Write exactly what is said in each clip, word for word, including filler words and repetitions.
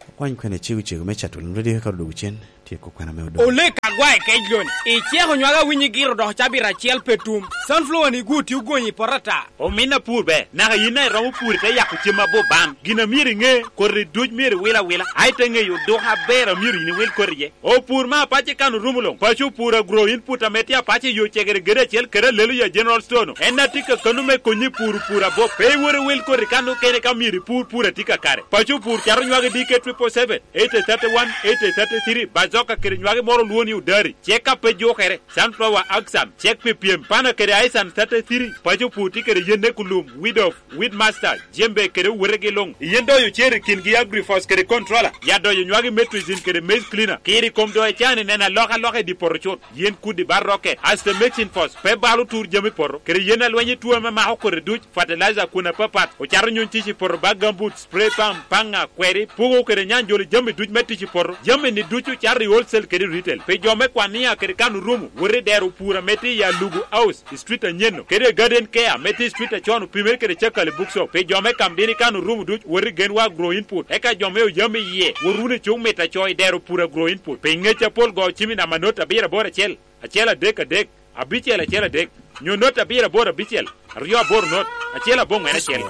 Okwany kwena cego cego me cato lum radio ka odwogo cen, tyeko kwena me odong. Olek agwae kec loni. Iceko nywaka winyi giro dok cabit acel pe tum. Sunflower ni gwo tye ogonyi i poto ata. Omin apur ber, naka yin daŋ iromo pur ite yako cem abop ban. Gin a myero iŋe, koti duc myero iwil awila, a ite ŋeyo oduka aber a myero yin iwil koti iye. Opur me apac i kan orumo luŋ. Paco opur agro input ame tye apac i yo cegere gede acel kede alelo ya General Store-nu. En a tye kakano me konyi i pur opur abop. Pe iwot iwil koti kan okene ka myero ipur pur a tye kakare. Paco opur cato nywagi D K triple seven, eighty thirty one, eighty thirty three, bazoka kede nywagi moro olwo ni odari. Cek ka pe jukere, sunflower axan, cek pi pyem, pana kede aisan thirty three, paco opur tye kede yen ne kulum, weed off, weed master, jembe kede owotegi luŋ. Yen doyo cer i kingi agrifos kede controller, ya doyo nywagi metricin kede maize cleaner. Kiri kom doyo can i neno alokaloka i di poto cut. Yen kudi bar roke, aste mexin fos, pe balo tur jami poto, kede yen alweny i tuo ame mako kodi duc, fertilizer kun apapat, ocato nyuny tic i poto bag gambut, spray pump, paŋa, kweri, pugo kede nyanjolo jami duc me tic i poto. Jami ni ducu cato i wholesale kede retail. Pi jo me kwania kede kan orumo, wot i dero pur ame tye i Alugu House, i street anyen-nu, kede i Garden Care ame tye i street acon opimere kede Cakali Bookshop. Pi jo me Kamdini kan orumo duc, wot i Genwa Agro Input. Eka jo me Oyam iye, wot wunu i cuk mit aco i dero pur Agro Input. Pi ngec apol go cim i namba not abiro aboro acel, acel adek adek, abicel acel adek, nyo not abiro aboro abicel, aryo aboro not, acel aboŋwen acel.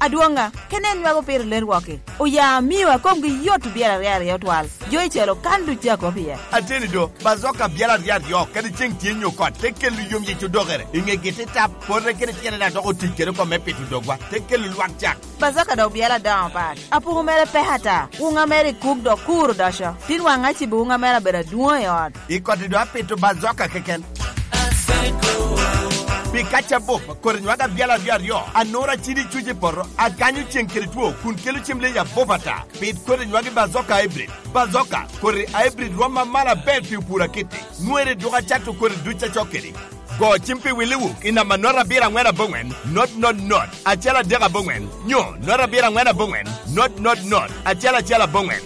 Adwoŋa, ka nen nywako piro ler wok-ki, oya amio a komgi yot obyelo aryo aryo twal. Jo i calo kan duc a kop iye. Ateni do, bazoka byelo aryo aryo, kadi ceŋ tye nyo kot, te kelo yom yic odokere. I ŋegi te tap, pote kede tyene daŋ dok otic kede oko me pito dogwa, te kelo lwak cak. Bazoka dok byelo adoŋo pat. Apuku mere pek ata. Wuŋa mere i kuk dok kur odoco. Tin waŋ acibo wuŋa mere abedo adwoŋo i ot. I koti do apito bazoka keken. Pi kaca bup, koti nywaka byalo aryo aryo, anura cidi cuc i poto, akanyo ceŋ kede two, kun kelo cem leyi abup ata. Pit koti nywagi bazoka hybrid. Bazoka, koti hybrid rwom amalo aber pi opur akitti. Nwere dwogo acato koti duc acok kedi. Go cim pi Willy Wook i namba not abiro aŋwen aboŋwen, not not not, acel adek aboŋwen, nyo not abiro aŋwen aboŋwen, not not not, acel acel aboŋwen.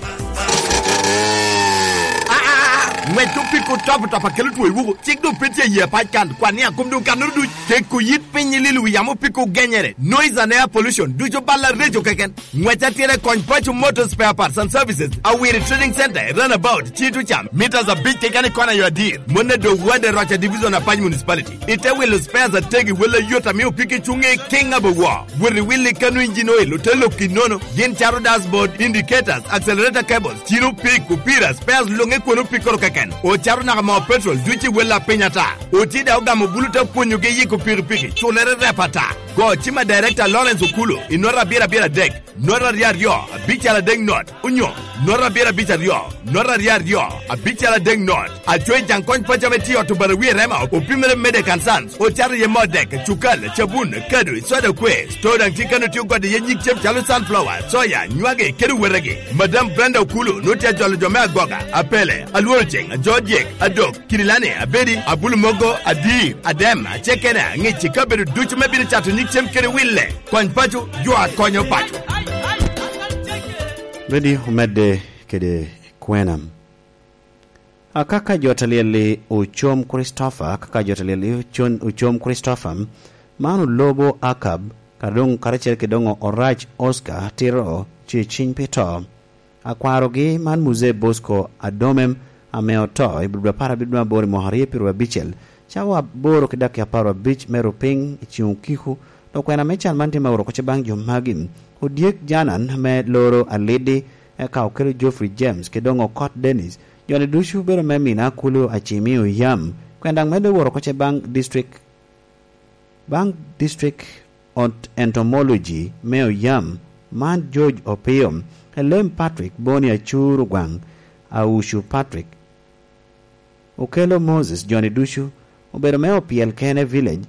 Aa, ŋwec opiko top top akelo two i Wook, cik doŋ pe tye i yie pac kan, kwan ni akom doŋ kannoro duc, keko yit piny i lilo wi yamo opiko genyere, noise and air pollution, ducu bal areco keken. Ŋwec atira i kony Paco Motor Spare Parts and Services, Awiri Trading Center, Runabout, Cito Cam, meters abic keken i kona yo adir. Mone do Wade Roca Division Apac Municipality. Ite wilo spares ategi wele ayot ame opiki cuŋe kiŋ abowo. Wot i wili kano engine oil ote lok i nono. Gin cato dashboard, indicators, accelerator cables, cino pik, opira, spares luŋe kwon opikoro keken. Ocato naka moo petrol duc i wele apiny ata. Oti daŋ ogamo bulu te pwonyogi yiko pikipiki, culere rep ata. Go cima Director Lawrence Okulo, i nota abiro abiro adek. Not aryo aryo, abicel adek not, onyo not abiro abic aryo, not aryo aryo, abicel adek not. Acoyi Jaŋ Kony Paco ame tye i ot Obarawi i Rema, opimere Medek and Sons, ocato iye moo dek, cukal, cabun, kado, soda kwe. Store daŋ tye kano tye ogode iye nyig cem calo sunflower, soya, nywagi, kede owetegi. Madam Brenda Okulu nwoŋo tye ajolo jo me Agoga, Apele, Alworoceŋ, Ajodyek, Adok, Kirilani, Abedi, Abulu Mogo, Adir, Adem, Acekene, Aŋic i kabedo ducu me bino cato nyig cem kede wille. Kony paco, jo a konyo paco. Ready omedde kede kwena. Akaka jo ta lyel-li ocom Kricitofa, akaka jo ta lyel-li ocon-, ocom Kricitofa, man olobo Akab, ka doŋ karacel kede doŋ orac Oscar tito ce ciny pi to. Akwarogi man Muzee Bosco Adomem ame oto i Budo apar abiro aboro i mwaka aryo pyeraryo abicel, cawa aboro ki dakika apar abic me rupiny i ceŋ okiko, dok kwena me can man tye me oro kocce baŋ jo magi. Odyek Janan ame loro Alidi, eka okelo Geoffrey James, kede doŋ Okot Dennis, jo-ni ducu obedo me mina Kulu Acimi Oyam, kwena daŋ medde woro kocce baŋ district Baŋ District Ent-, Entomology me Oyam, man George Opio, Elem Patrick, Boni Acur Ogwaŋ, Aucu Patrick, Okello Moses, jo-ni ducu obedo me Opyel Kene Village,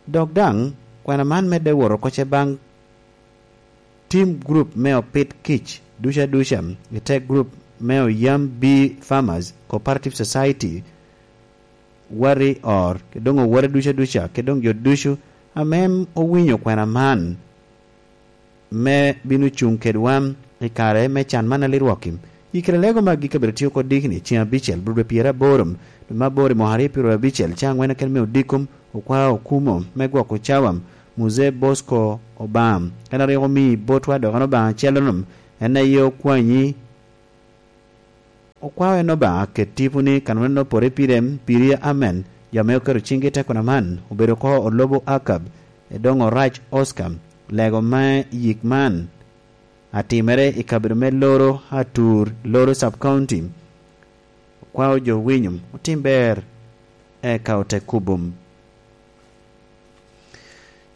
dok daŋ kwena man medde woro kocce baŋ Tim gurup me opit kic ducu aduca i te gurup me Oyam Bee Farmers Cooperative Society, Wari Or, kede doŋ owete ducu aduca, kede doŋ jo ducu ame owinyo kwena man, me bino cuŋ kedwa i kare me can man a lirwok-ki. I kite lego magi kabedo tye oko dikni ceŋ abicel, Budo pyeraboro, dwe me aboro i mwaka aryo pyeraryo abicel, cawa aŋwen keken me odiko, okwa okumo me gwoko cawa, Muzee Bosco Obam. En a rik omii botwa dok en Obaŋa acel-lu, en aye okwanyi. Okwao en Obaŋa ket tipo ni kanonere opore pire, piri amen. Jo ame oketo ciŋgi i tekona man obedo oko Olobo Akab, Edoŋo Rac Oscar. Lego me yik man atimere i kabedo me Loro Atur, Loro Sub County. Okwao jo winyo otim ber, eka ote kubum.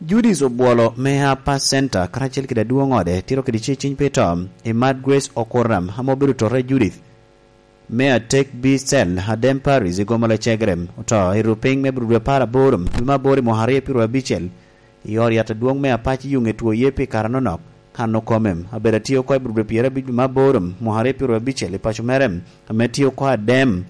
Judith Obwolo me Upper Center karacel kede adwoŋ ode tito kede ce ciny pi to i Mad Grace Okoram ame obedo tota i Judith me atek B Cell, Adem Parish, i Gomola Cegerem, oto i rupiny me Abril apar aboro, dwe me aboro i mwaka aryo pyeraryo abicel, i ot yat adwoŋ me Apac i Yuŋe two ye pi kare anonok. Kan okome, abedo atye oko i Abril pyeraryo abic dwe me aboro, mwaka aryo pyeraryo abicel, i paco mere, ame tye oko Adem.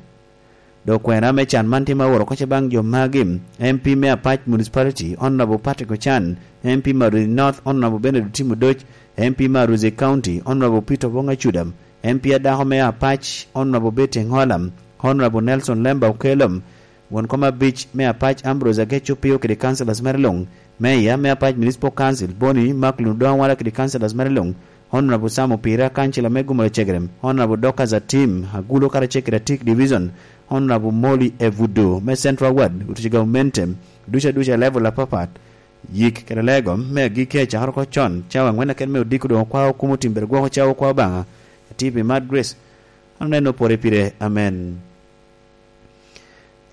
Dok kwena me can man tye ma oworo oko ce baŋ jo magi: M P me Apac Municipality, Honorable Patrick Ochan, M P Maruzi North, Honorable Bernard Otim Odoc, M P Maruzi County, Honorable Peter Obong Acuda, M P adako me Apac, Honorable Betty Engola, Honorable Nelson Lemba Okello, won kom abic me Apac, Ambrose Agec Opio kede councillors mere luŋ, Mayor me Apac Municipal Council, Boni Macklin Odongo Awala kede councillors mere luŋ, Honorable Sam Opira, kancila me Gumula Cegerem, Honorable Dorcas Atim Agulo karacel kede Atik Division, Honorable Molly Evudu me Central Ward, otuco gamente duca duca level apapat, yik kede lego me agikki acakere oko con, cawa aŋwen aken me odiko doŋ okwao kumo timbere gwoko cawa okwao Obaŋa, atipi Mad Grace, aneno pore pire. Amen.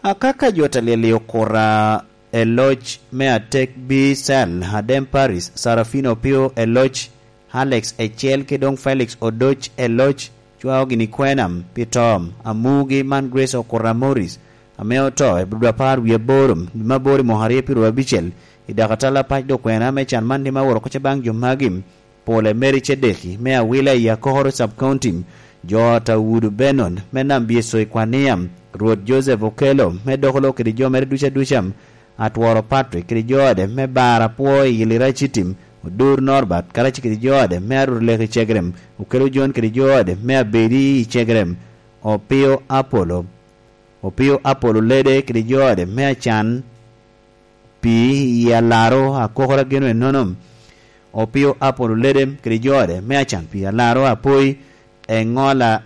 Akaka jo ta lyel i okura e loc me atek B Cell, Adem Paris, Sarafino Opio e loc, Alex Ecel ki doŋ Felix Odoc e loc, cwao gini kwena pi to amugi man Grace Okura Morris, ame oto i Abril apar wie aboro, dwe me aboro i mwaka aryo pyeraryo abicel, i dako atal Apac. Dok kwena me can man tye ma oworo oko ce baŋ jo magi: Pole Mary Cedeki me Awila i Akokoro Sub County, jo ot Awudu Benon me Nambyeco i Kwania, Rwot Joseph Okello me Dokolo kede jo mere duca duca, Atworo Patrick kede jo ode me Bar Apwo i Lira Citim, Odur Norbert karacel kede jo ode me Arur Leki Cegerem, Okello John kede jo ode me Abedi i Cegerem, Opio Apollo, Opio Apollo Lede kede jo ode me Acan pi i Alaro Akokoro Ageno ennono, Opio Apollo Lede kede jo ode me Acan pi Alaro Apoi, Engola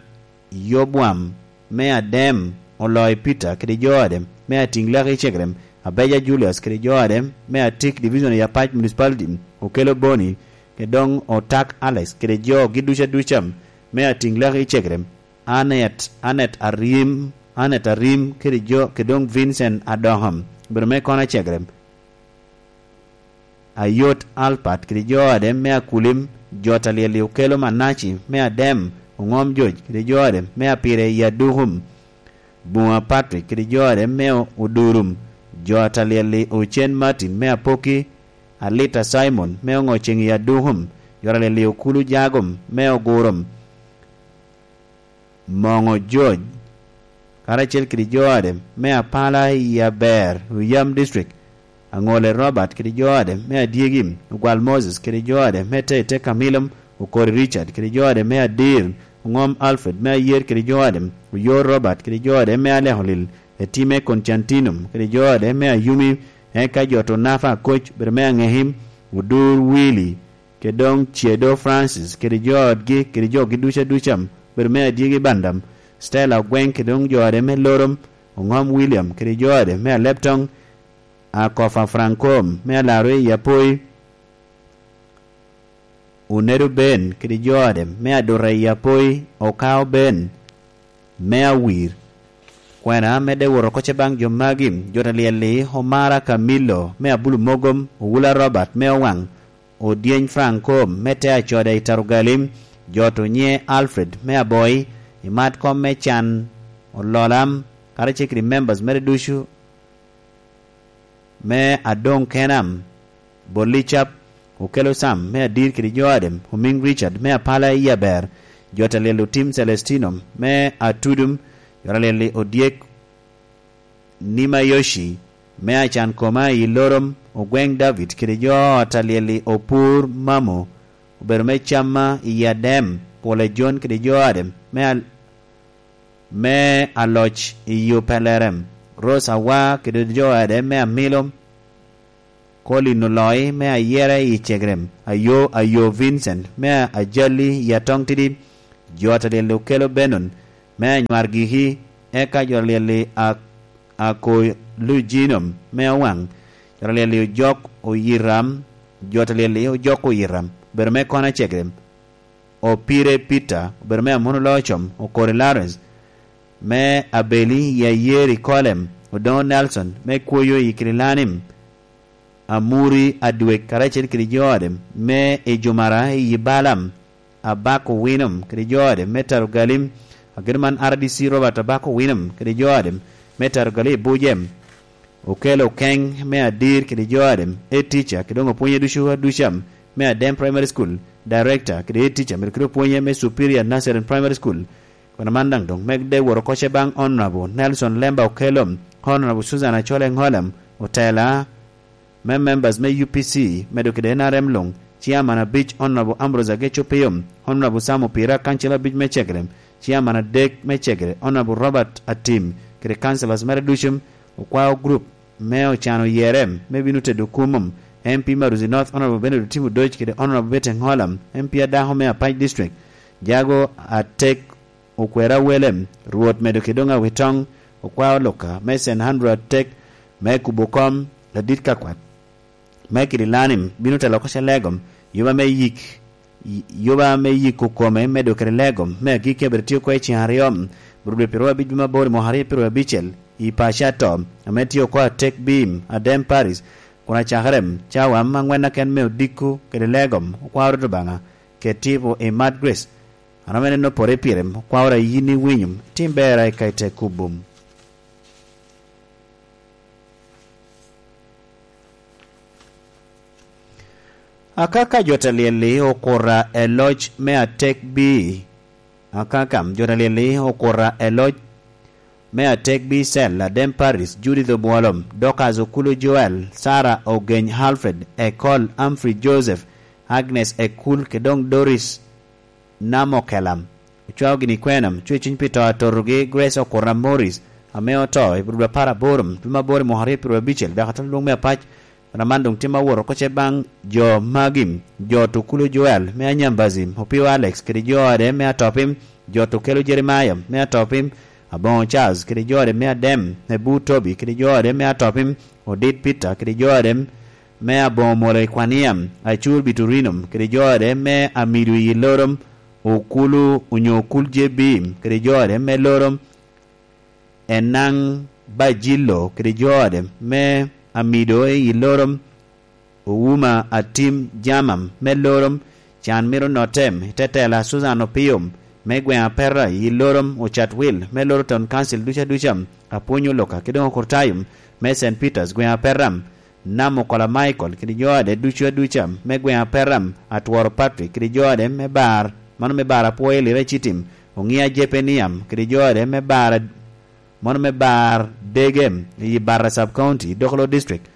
Yobwam me Adem, Oloi Peter kede jo ode me Atiŋ Leki Cegerem, Abeja Julius kede jo ode me Atik Division i Apac Municipality, Okello Boni, kede doŋ Otak Alex kede jogi duca duca me Atiŋ Leki Cegerem, Anet, Anet Arim, Anet Arim kede jo, kede doŋ Vincent Adoŋo, obedo me Kona Cegerem, Ayot Alpat kede jo ode me Akulim, jo ta lyel i Okello Manaci me Adem, Oŋom Joc kede jo ode me Apire i Adukum, Buŋa Patrick kede jo ode me Odurum, jo ta lyel i Ocen Martin me Apoki, Alita Simon me Oŋoceŋ i Adukum, jo ta lyel i Okulu Jagom me Ogurum, Moŋo George, karacel kede jo ode me Apala i Aber, Oyam District, Aŋole Robert kede jo ode me Adyegi, Ogwal Moses kede jo ode me Tete Kamilom, Okori Richard kede jo ode me Adir, Oŋom Alfred me Ayer kede jo ode, Oyor Robert kede jo ode me Alekolil, Etime Koncantinom kede jo ode me Ayumi, eka jo to Nafa Akoc, bedo me Aŋekim, Odur Willy, kede doŋ Ciedo Francis kede jo otgi kede jogi duca duca, bedo me Adyegi Bandam, Stella Ogweŋ kede doŋ jo ode me Lorom, Oŋom William kede jo ode me Aleptoŋ, Akofa Franco me Alaro i Apoi, Onedo Ben kede jo ode me Aduta i Apoi, Okao Ben me Awir. Kwena medde woro oko ce baŋ jo magi: jo ta lyel-li, Omara Camillo me Abulu Mogom, Owula Robert me Owaŋ, Odyeny Franco me te Acoda i Tarugali, jo to nye Alfred me Aboi, i mat kom me can, Ololam, karacel kede members mere ducu me Adoŋ Kenam, Bolicap, Okelo Sam me Adir kede jo ade, Omiŋ Richard me Apala i Aber, jo ta lyel Otim Celestino me Atudum, jo ta lyel Odyek Nimayoshi me Acan Koma i Lorom, Ogweŋ David kede jo ta lyel Opur Mamo, obedo me Camma i Adem, Pole Jon kede jo ade me al-, me Aloc i Yo Pelerem, Rose Awa kede jo ade me Amilo, Colin Oloi me Ayera i Cegrem, Ayo, Ayo Vincent me Ajali i Atong Tidi, jo Ataliel okelo Benon me Anywargiki, eka jo Ataliel a, Akolujino me Owaŋ, jo Ataliel ojok Oyiram, jo Ataliel ojok Oyiram, obedo me Kona Cegrem, Opire Peter, obedo me Amono Locom, Okori Lawrence, me Abeli i Ayeri Kolem, Odoŋo Nelson, me Kwoyo i Kirilanim, Amuri Adwek karacel kede jo ode, me Ejumara i Balam, Abako Winom kede jo ode, me Tarugalim, agedo man R D C Robert Abako Winom kede jo ode, me Tarugalim i Bujem, Okelo Keng me Adir kede jo ode, e tica, kede doŋ opwonye ducu aduca, me Adem Primary School, Director kede e tica, medo kede opwonye me Superior Nazarene Primary School, Kwena man daŋ doŋ medde wot oko ce baŋ Honorable Nelson Lemba Okello, Honorable Susan Achole Ŋolem, otela me members me U P C, medo kede N R M luŋ, Chairman abic Honorable Ambrose Ageco Piyom, Honorable Sam Opira, kancil abic me Cegrem, Chairman adek me Cegre Honorable Robert Atim, kede councillors mere ducu, okwao group me ocano yere me bino tedo kumum, M P Maruzi North Honorable Bernard Otim Odoc kede Honorable Betty Ŋolem, M P adako me Apac District, Jago Atek Okwera Welem, Rwot medo kede doŋ awitoŋ, okwao luka me Saint Andrew Atek me kubo kom adit ka kwat me kidi lanim bino telo oko ce legom, yuba me yik, yuba me yiko kome medo kede legom me agikki abedo tye oko i cen aryo, Rwot dwe pyeraryo abic dwe mabor i mwaka aryo pyeraryo abicel i paco ato, ame tye oko Atek Bim, Adem Paris, kun acakere cawa angwen aken me odiko kede legom, okwao Rwot Obaŋa, ket tipo i Mad Grace, an ame neno pore pire, okwao ra yin iwinyo, tim berra i ka i te kubum. Akaka jo ta lyel-li okura e loc me Atek Bim. Akaka jo ta lyel-li okura e loc me Atek Bim, Cel, Adem Paris, Judith Obwolo, Dorcas Okulu Joel, Sarah Ogeny, Alfred Ekol, Humphrey Joseph, Agnes Ekul, kede doŋ Doris Namokelam. Ocwao gini kwena, cwe cuny pi to atotogi, Grace Okura Morris, ame oto i Rwot apar aboro, dwe me aboro i mwaka aryo pyeraryo abicel, dok atwal lwong me apac, Wan aman doŋ tye ma wot oko ce baŋ jo magi, jo Tukulo Joel me Anyambazi, Opio Alex kede jo ode me Atopim, jo Tukelo Jeremiah me Atopim, Aboŋo Charles kede jo ode me Adem, Ebu Tobi kede jo ode me Atopim, Odit Peter kede jo ode me Aboŋo Molo i Kwania, Acur Biturino kede jo ode me Amido i Lorom, Okulu onyo Okul J B kede jo ode me Lorom, Enaŋ Bajilo kede jo ode me Amido i Lorom, Ouma Atim Jamam me Lorom, Can Miro Notem, Tetela Susan Opio me gweŋ Apera i Lorom, Ocat Wil me Loro Town Council ducu aduca, Apwony Oloka kede doŋ Okurtayum me Saint Peters gweŋ Apera, Nam Okola Michael kede jo ode ducu aduca me gweŋ Aperam, Atworo Patrick kede jo ode me bar, mano me bar apwoyo Lira Ecitim, Oŋia Jepeniam kede jo ode me bar, mano me bar Degem i Barra Sub County, Dokolo District,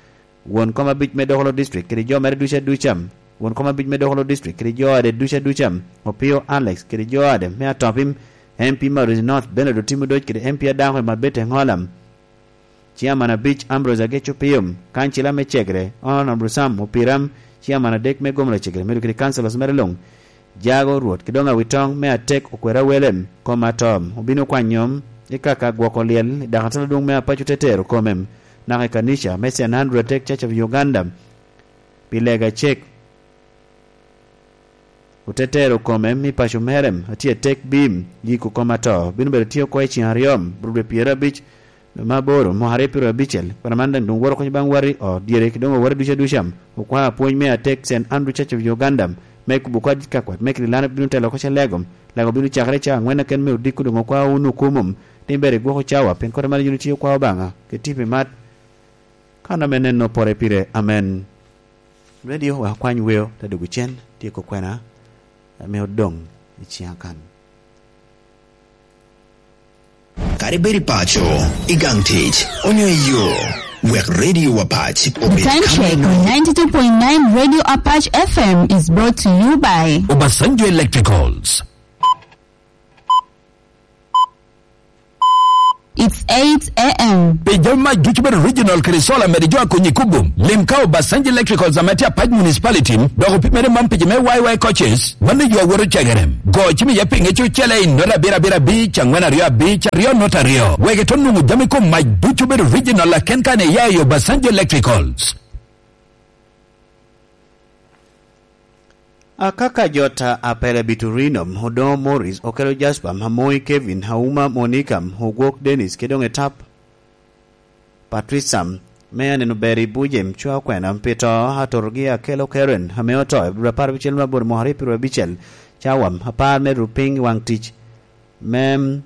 won kom abic me Dokolo District kede jo mere ducu aduca, won kom abic me Dokolo District kede jo ode ducu aduca, Opio Alex kede jo ode me Atopim, M P Maurice North Bernard Otimo Doc kede M P Adako Emabete Ŋolam. Ciaman abic Ambrose Ageco Piyom, kancila me Cegre, Honorable Sam Opiram, ciaman adek me gomna Cegre, medo kede councillors mere luŋ, Jago Rwot, kede doŋ Awitoŋ me Atek Okwera Welem, kom atom, obino kwanyo i kaka gwoko lyel i dakatal adwoŋ me Apaco Tetero Komem, naka i kanica me Saint Andrew Atek Church of Uganda, pi lega cek. Otetero kome mi paco mere, atye atek bim, yiko kome ato, bino bedo tye oko i cen aryo, rube pyerabic, me aboro, mwaka aryo pyerabicel, kwena man daŋ doŋ woro kony baŋ wati, o, dyere, ki doŋ owore duca duca, okwao apwony me atek Saint Andrew Church of Uganda, me kubo kadi kakwat, me kidi lano bino telo oko ce lego, lego bino cakere ca angwen aken me odiko doŋ okwao wunu kumum, ni ber igwoko cawa, pien kore man yin itye okwao Obaŋa, keti pi mat, kan ame neno pore pire. Amen. Radio wa kwany weo te dwogo cen, tyeko kwena ame odoŋ i ciŋa kan. Kadi bed i paco, i gang tic, onyo i yo, wek Radio Apac obed Time check on ninety-two point nine Radio Apac F M is brought to you by Obasanjo Electricals. It's eight a m. Pi jami mac ducu bedo original kede solar mede jo a konyi kubo, lim ka Obasanjo Electricals ame tye Apac Municipality, dok opimere man pi jo me Y Y coaches, mano yo a woto cegere. Go cim iye pinge ci ocele i nota abiro abiro abic, angwen aryo abic, aryo nota aryo. Wek ito nwoŋo jami kom mac ducu bedo original aken kan iya i Obasanjo Electricals. Akaka jot a Apele Biturino, Odoŋo Morris, Okelo Jasper, Amoi Kevin, Auma Monica, Ogwok Dennis, kede doŋ etap Patricia, me aneno ber i buce, cwa okwena, pi to atotogi Akelo Karen, ame oto, i dwe apar abicel me aboro mwaka aryo pyeraryo abicel, cawa apar me rupiny i waŋ tic, me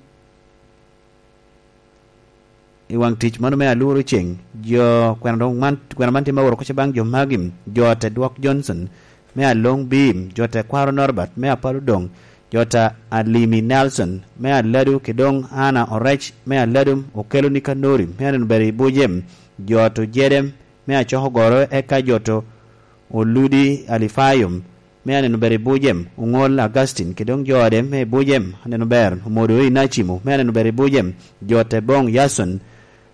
i waŋ tic mano me aluru ceŋ, jo kwena doŋ man, kwena man tye me oro kocce baŋ jo magi, jo te dwok Johnson, me aloŋ Bim, jo te kwaro Norbert, me apalo doŋ, jo te Alimi Nelson, me aladu, kede doŋ Anna Orec, me aladu, Okelo Nikanori, me aneno ber i buce, jo te Ojede, me acoko goro, eka jo te Oludi Alifayo, me aneno ber i buce, Oŋol Augustine, kede doŋ jo ode me i buce, aneno ber, Omodo Inacimo, me aneno ber i buce, jo te boŋ Yason,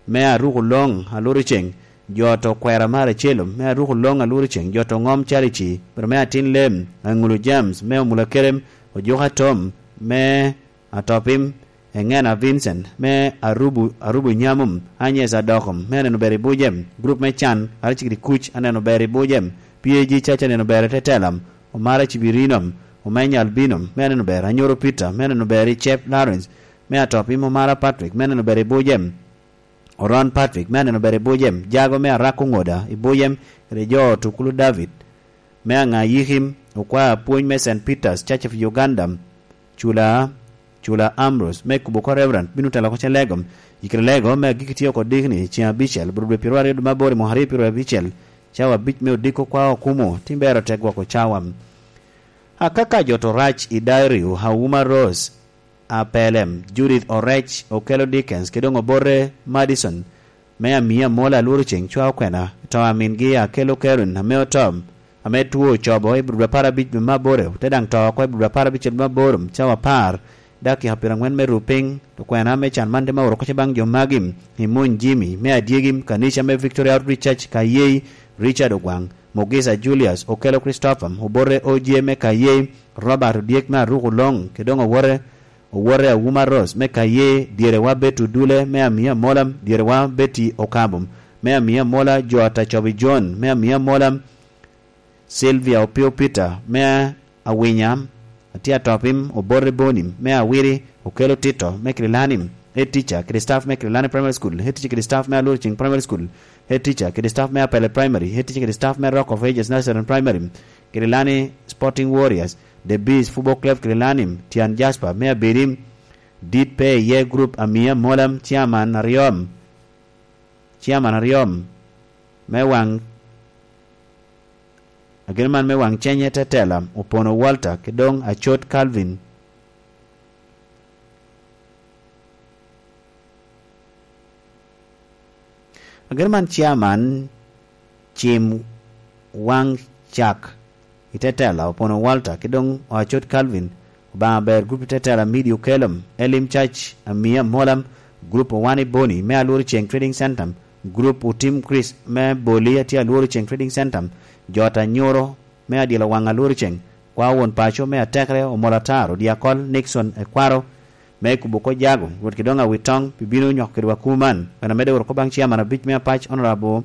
me aruko loŋ aluru ceŋ, jo te Okwera Maracelo, me aruko loŋ aluru ceŋ, jo te Oŋom Charity, pero me atin lem, Aŋulu James, me Omula Kerem, Ojuka Tom, me Atopim, Eŋena Vincent, me Arubu, Arubu Nyamum, Agnes Adokom, me aneno ber i buce, grup me can, Aracikiri Kuc, aneno ber i buce, P A G Church, aneno ber i Tetelam, Omara Cibirinom, Omenya Albinom, me aneno ber, Anyoro Peter, me aneno ber i Cep Lawrence, me Atopim, Omara Patrick, me aneno ber i buce, Oron Patrick, me aneno ber i buce, Jago me Arako Ŋoda i buce, kede jo Tukulu David, me Aŋa Yikim, okwa apwony me Saint Peter's Church of Uganda, Cula, Cula Ambrose, me kubo oko Reverend, bino telo oko Celegom, i kare lego me agikki tye oko dikni, ceŋ abicel, bro dwe pyeraryo aryo dwe me aboro i mwaka aryo pyeraryo abicel, cawa abic me odiko kwa okumo, tim ber ote gwoko cawa. Akaka jot orac i Dario, Auma Rose, Apelem, Judith Orec, Okelo Dickens, kede doŋ Obote Madison, me Amia Mola Alworo Ceŋ cwa okwena, to amingi Akelo Karen ame oto, ame two ocobo i bur dwe apar abic dwe me aboro, te daŋ to oko i bur dwe apar abicel dwe me aboro, cawa apar, dakika pyeraŋwen me ru piny, okwena me can man te me oro kocce baŋ jo magi, Imony Jimmy, me adyegi, kanica me Victoria Outreach Church Kayei, Richard Ogwaŋ, Mogisa Julius, Okelo Christopher, Obote Oje me Kayei, Robert Odyek me Aruku Loŋ, kede doŋ owote, owote Awuma Rose me Kayee, dyerewa Betty Odule me Amia Mola, dyerewa Betty Okabum me Amia Mola, jo Atacobi John me Amia Mola, Sylvia Opio Peter me Awinya, Atia Topim, Obote Boni me Awiri, Okelo Tito me Kililani, head teacher kede staff me Kililani Primary School, head teacher kede staff me Alurcing Primary School, head teacher kede staff me Apele Primary, head teacher kede staff me Rock of Ages Nursery and Primary, Kililani Sporting Warriors, The Bees Football Club Kililani, Tian Jasper me Abedi, dit pe iye group Amia Mola, chairman aryo, chairman aryo me waŋ, ageno man me waŋ cenye Tetela, Opono Walter, kede doŋ Acot Calvin. Ageno man chairman cim waŋ cak i Tetela, Opono Walter, kede doŋ Acot Calvin, Obaŋa ber, group i Tetela, Midi Okelom, Elim Church, Amia Molam, group Owani Boni me Alworo Ceŋ Trading Center, group Otim Chris me Boli, atye Alworo Ceŋ Trading Center, jo ata nyoro me adyelo waŋ Alworo Ceŋ, kwa won paco me atekere, Omol Atar, Odyakol, Nixon, Ekwaro, me kubo oko jago, Rwot kede doŋ awit toŋ, pi bino nyoko kedwa kuman. Bene amedde wot oko baŋ chairman abic me apac, Honorable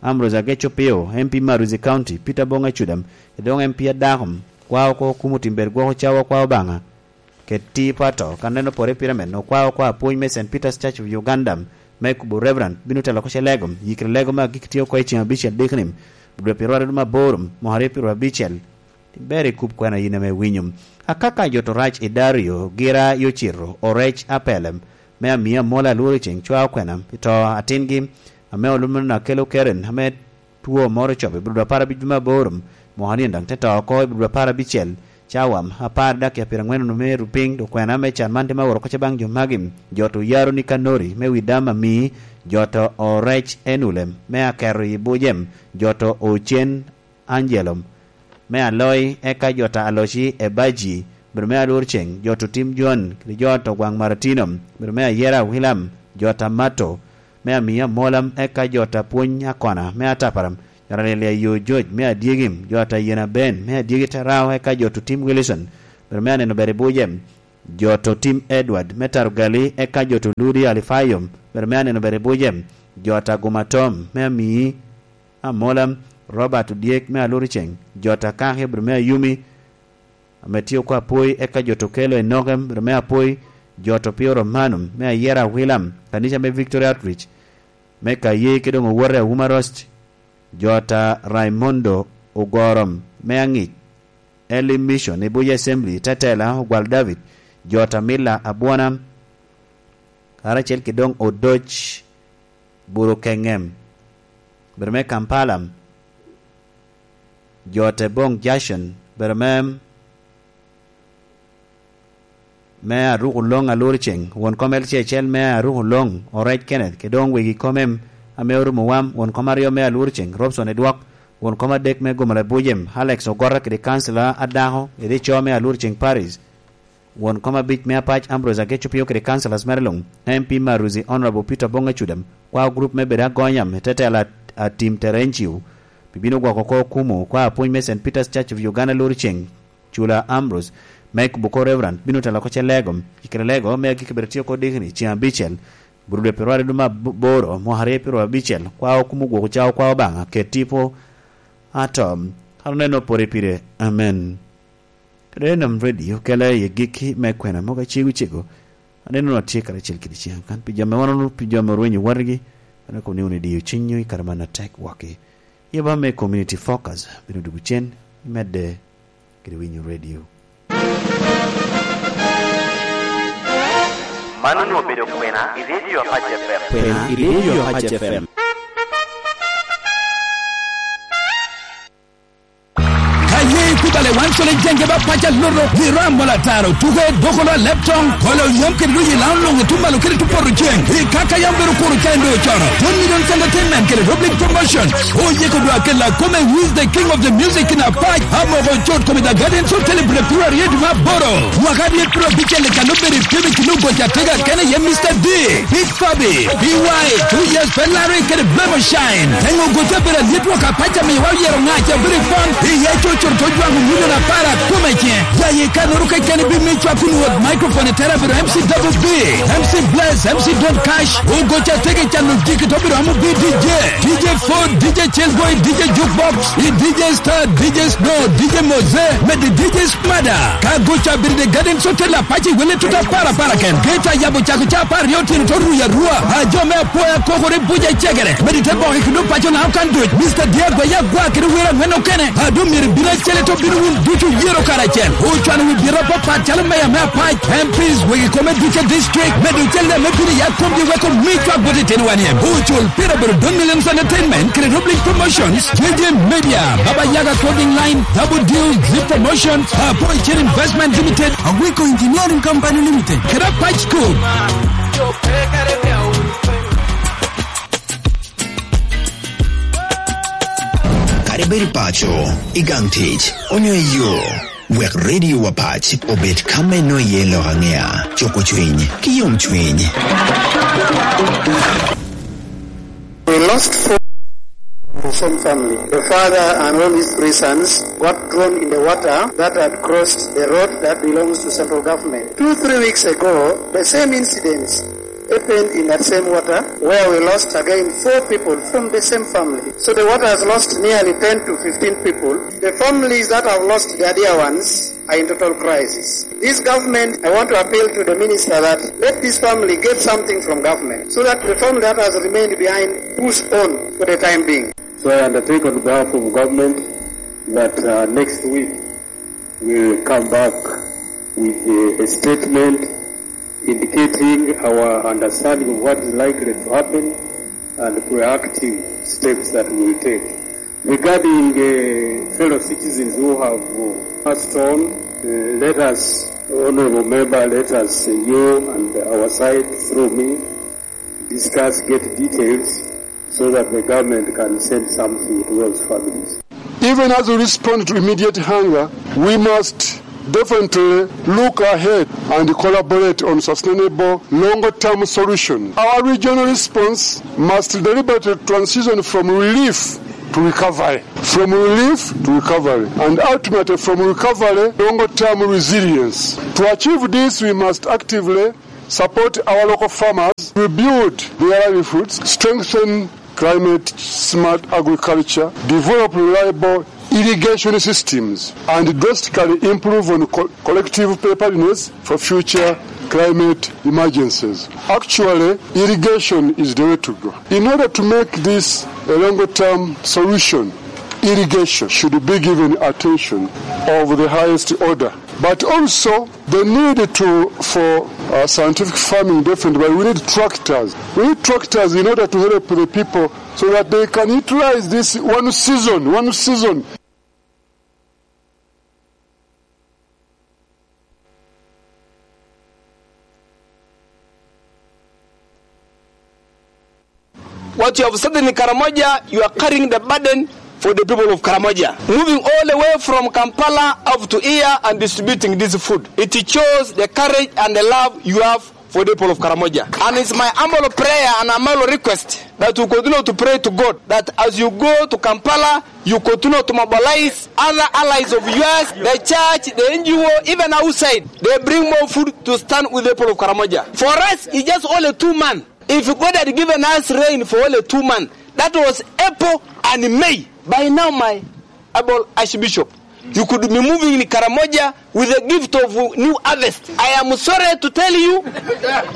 Ambrose Ageco Pio, M P Maruzi County, Peter Bonga Cudam, kede doŋ M P Adako, kwa oko kumo tim ber gwoko cawa kwa Obaŋa, kede ti pato, kan neno pore pire men, okwa oko apwony me Saint Peter's Church of Uganda, me kubo Reverend, bino telo oko ce lego, yikre lego me agik tye oko i ceŋ abicel dikni, dwe pyeraryo ma aboro, mwaka aryo pyeraryo abicel. Ber i kup kwena yin ame iwinyo. Akaka jot orac i Dario, gira i ocito, orec apelem, me Amia Mola Alworo Ceŋ cwa okwena, i to atingi, ame olumo na Kelo Karen, ame two moro ocobo i bur dwe apar abic me aboro, mwaka nino daŋ te to oko i bur dwe apar abicel, cawa apar dakika pyeraŋwen onwoŋo me rupiny, okwena me can man te me woro kocce baŋ jo magi, jot oyaro ni Kanori, me wi dam ami, jot orec enulem, me aketo i bujem, jot ocen Angelo, me Aloi, eka jo ta Aloci Ebaji, obedo me Alur Ceŋ, jo to Tim Jon, kede jo to Gwaŋ Maratino, obedo me Ayera Wilam, jo ata Mato, me amiya Molam, eka jo ata Pwony Akona, me Ataparam, jo ata Lelia Yo George, me Adyegim, jo ata Yena Ben, me Adyegi Terao, eka jo ata Tim Wilson, bedo me aneno ber i buce, jo ata Tim Edward, me Tarugali, eka jo ata Ludi Alifayom, bedo me aneno ber i buce, jo ata Guma Tom, me Amii Amolam, Robert Odyek, me Aluriceng, jo ata Kaki, bedo me Ayumi, ame tye oko Apoi, eka jo ata Okelo Enokem, bedo me Apoi, jo ata Opio Romanum, me Ayera Awilam, kanica me Victoria Outreach, me Kaye, ki doŋ owote Awuma Rost, jo ata Raimondo Ogorom, me Aŋic, Early Mission, Ibuja Assembly, Tetela, Ogwal David, jo ata Mila Abwona, karacel ki doŋ Odoc Buru Keŋem, bedo me Kampala, jo ata Boŋ Jason, bedo me, me Aruku Loŋ Aluriceng, won kom L C H L me Aruku Loŋ, Orec Kenneth, ki doŋ wegi kom em ame orumo wam, won kom aryo me Aluriceng, Robson Edwok, won kom adek me Gomora Bujem, Alex Ogota kede kancila adako, kede co me Aluriceng Paris, won kom abic me Apac Ambrose Ageco Pio kede councillors mere luŋ, M P Maruzi Honourable Peter Bonga Cudam, kwao group me bedo agonya me tetela a, a Tim Terencio, bibino gwoko oko Okumu, kwao apwony me Saint Peter's Church of Uganda Luriceng, Cula Ambrose, me kubo oko Reverend, bino telo oko Celego, i Celego me agikki bedo tye oko dikini, ceng abicel, Burudwe Perwari duma aboro, mwaka aryo pyero abicel, kwao Okumu gwoko cawa kwao Obaŋa, ket tipo, atom, kano neno pore pire. Amen. Kede Enam Radio kela i agikki me kwena mogo acego cego. Aneno ni watye karacel kede ceŋ kan pi jo ame wan onwoŋo, pi jo ame orwenyo watgi, en akobo ni wun idiyo cinywu i kare man atek wokki. Yaba me Community Focus bino dwogo cen, imedde kede winyo radio. Man onwoŋo obedo kwena i Radio Apac F M. Kwena i Radio Apac F M. Ka ye ikubale wan cwale jenge ba paca loto, i ram mola taro, tuke, dokolo, leptong, kolo yam kede doji lao luŋ i tum malo kede tum poto ceng. I kaka yam bedo kuro ca endo cono. Don Millions Entertainment kede Rob League Promotion. Oyeko dwa kela kome, who is the king of the music in Apac? Amoko cot kome the Gardens Hotel i February dwe aboro. Mwaka aryo pyero abicel i kano bedo i pim i kino goca tega kene ye Mister D. Big Fabi, B Y, two years pe larre kede Blemo Shine. Teŋo goca bedo alyet wok apac amiwa oyero ŋac a bedo i pon, i ye cocoro to jwaŋo milion apar akome cen. Jaye kanoro keken i bimi cwak kun wot microphone i tera bedo M C Double B, M C Bless, M C Don Cash, ogoca tege cano jiki to bedo amo B D J, D J Ford, D J Chillboy, D J Jukebox, i D J Star, D J Snow, D J Mose, med i D J Mada, ka goca bedo i Gardens Hotel apac i wele tuta para para ken. Geta yabo cako ca apar aryo otyeno to ruyo arua. A jo me apoya kokore buca i cegere. Med i te boko i kino paco na okan duc. Mister Diego ya gwa kede wer angwen okene. A doŋ myero ibin acel to bino wun ducu yero karacel. Ocwano wi bita apapat calo meya me apac, M Ps, wegi kome ducu i district. Med ocel ne me bino ya komgi weko mi cwak bot i tino wan yem. Ocul pira bedo Don Millions Entertainment kede Rob League Promotions, J J Media, Baba Yaga Clothing Line, Double Deal, Zip Promotions, Apoy Chain Investment Limited, Agwiko Engineering Company Limited, kede Apac School. Kadi bed i paco, i gang tic, onyo i yo, wek Radio Apac obed ka me nwoŋo iye lok aŋea, cuko cwiny, ki yomcwiny. We lost four from the same family. The father and all his three sons got thrown in the water that had crossed the road that belongs to central government. Two, three weeks ago, the same incidents happened in that same water where we lost again four people from the same family. So the water has lost nearly ten to fifteen people. The families that have lost their dear ones are in total crisis. This government, I want to appeal to the minister that let this family get something from government so that the family that has remained behind push on for the time being. So I undertake on behalf of government that, uh, next week we will come back with a, a statement indicating our understanding of what is likely to happen and proactive steps that we will take. Regarding, uh, fellow citizens who have, uh, passed on, uh, let us, Honorable Member, let us, uh, you and our side through me, discuss, get details so that the government can send something to those families. Even as we respond to immediate hunger, we must Definitely look ahead and collaborate on sustainable longer-term solution. Our regional response must deliberately transition from relief to recovery, from relief to recovery, and ultimately from recovery, longer-term resilience. To achieve this, we must actively support our local farmers, rebuild their livelihoods, strengthen climate-smart agriculture, develop reliable irrigation systems, and drastically improve on co-, collective preparedness for future climate emergencies. Actually, irrigation is the way to go. In order to make this a longer-term solution, irrigation should be given attention of the highest order. But also, the need to, for, uh, scientific farming, definitely, but we need tractors. We need tractors in order to help the people so that they can utilize this one season, one season. What you have started in Karamoja, you are carrying the burden for the people of Karamoja. Moving all the way from Kampala up to here and distributing this food. It shows the courage and the love you have for the people of Karamoja. And it's my humble prayer and humble request that you continue to pray to God that as you go to Kampala, you continue to mobilize other allies of yours, the church, the N G O, even outside. They bring more food to stand with the people of Karamoja. For us, it's just only two months. If God had given us rain for only two months, that was April and May. By now, my able Archbishop, you could be moving in Karamoja with a gift of new harvest. I am sorry to tell you,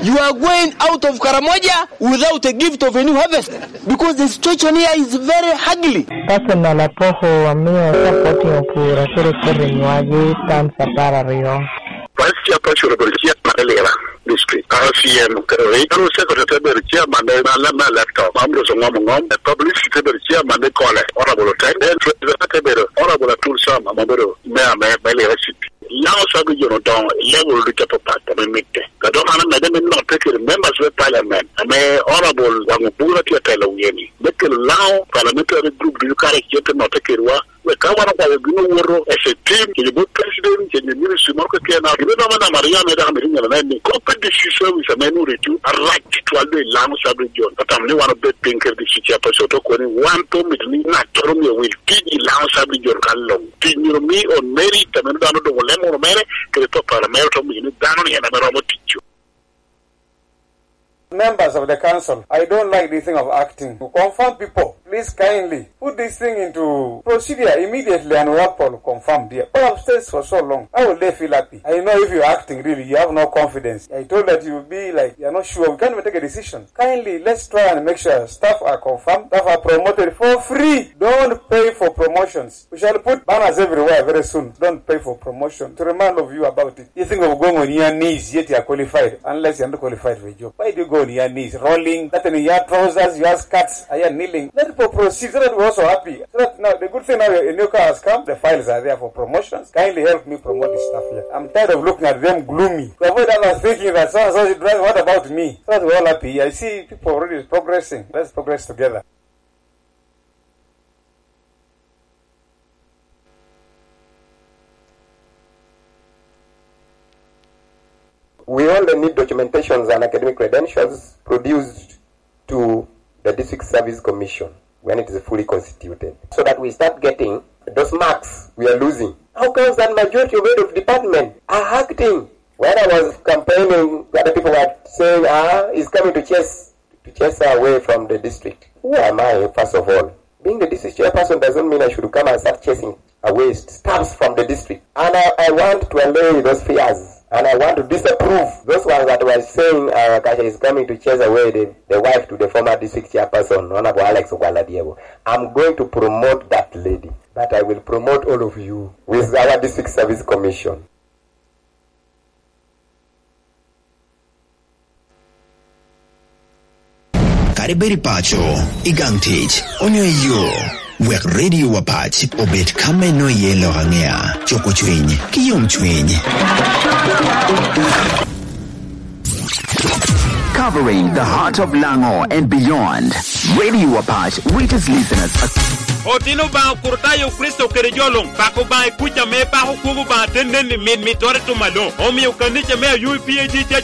you are going out of Karamoja without a gift of a new harvest because the situation here is very ugly. Personal apoko amio supporting opura kede kede nywagi times apar aryo. Vice Chairperson obedo chairman me Lira District, R C M kede Regional Secretary te bedo chairman me, me, me electoral, ma Ambrose Ongom Ongom, publicity te bedo chairman me Kole, Honorable Otek, then Treasurer te bedo Honorable Atul Sam, ame obedo Mayor me, me Lira City. Laŋo Sub Region odoŋo i level ducu apapat ame mitte. Ka dok an amedde me notte kede members me parliament, ame Honorable Waŋ Obura tye atelo wie-ni, me kelo Laŋo parliamentary group ducu karacel te notte kedwa, wek ka wan okwayo gin owoto as a team, kede bot president, kede ministry moro keken, gin ame namba aryo ame dok amito nyalo nen ni, kop pe district service ame nwoŋo recu arac tutwal doŋ i Laŋo Sub Region, atamo ni wan obed piny kede district chairperson, to koni wan pe omito ni ŋattoro myero wil tic i Laŋo Sub Region ka luŋ. Tic myero mi on merit, ame dano doŋ olemo wunu mere, kede papara mere, to omio ni dano ni en ame romo tic. Members of the council, I don't like this thing of acting. To confirm people, please kindly put this thing into procedure immediately and we have to confirm there. Go upstairs for so long. How will they feel happy? I know if you're acting really, you have no confidence. I told that you will be like, you're not sure. We can't even take a decision. Kindly, let's try and make sure staff are confirmed, staff are promoted for free. Don't pay for promotions. We shall put banners everywhere very soon. Don't pay for promotion. To remind of you about it. You think of going on your knees, yet you are qualified, unless you are not qualified for a job. Why do you go on your knees, rolling, that in your trousers, your skirts, are you kneeling? Let people proceed so that we're also happy. So that now, the good thing now, a new car has come, the files are there for promotions. Kindly help me promote this stuff here. I'm tired of looking at them gloomy. To avoid others thinking that so and so is driving, what about me? So that we're all happy. I see people already progressing. Let's progress together. We only need documentations and academic credentials produced to the District Service Commission when it is fully constituted, so that we start getting those marks we are losing. How comes that majority of head of department are acting? When I was campaigning, other people were saying, "Ah, he's coming to chase, to chase her away from the district." Who am I, first of all? Being the district chairperson doesn't mean I should come and start chasing away staffs from the district. And I, I want to allay those fears. And I want to disapprove those ones that were saying, uh, Kasia is coming to chase away the, the wife to the former district chairperson, Honorable Alex Okwala Diego. I'm going to promote that lady. But I will promote all of you with our District Service Commission. Kadi bed i paco, i gang tic, onyo i yo, wek Radio Wapac obed ka me nwoŋo iye lok aŋea, cuko cwiny, ki yomcwiny. Covering the heart of Lango and beyond, Radio Wapac reaches listeners Otino Obaŋa Okritayo Kricito kede jo luŋ, pako Obaŋa i kuc ame pako kwogo Obaŋa te nen i mit mittoro i tum aloŋ. Omio kanica me Ayub P A G Church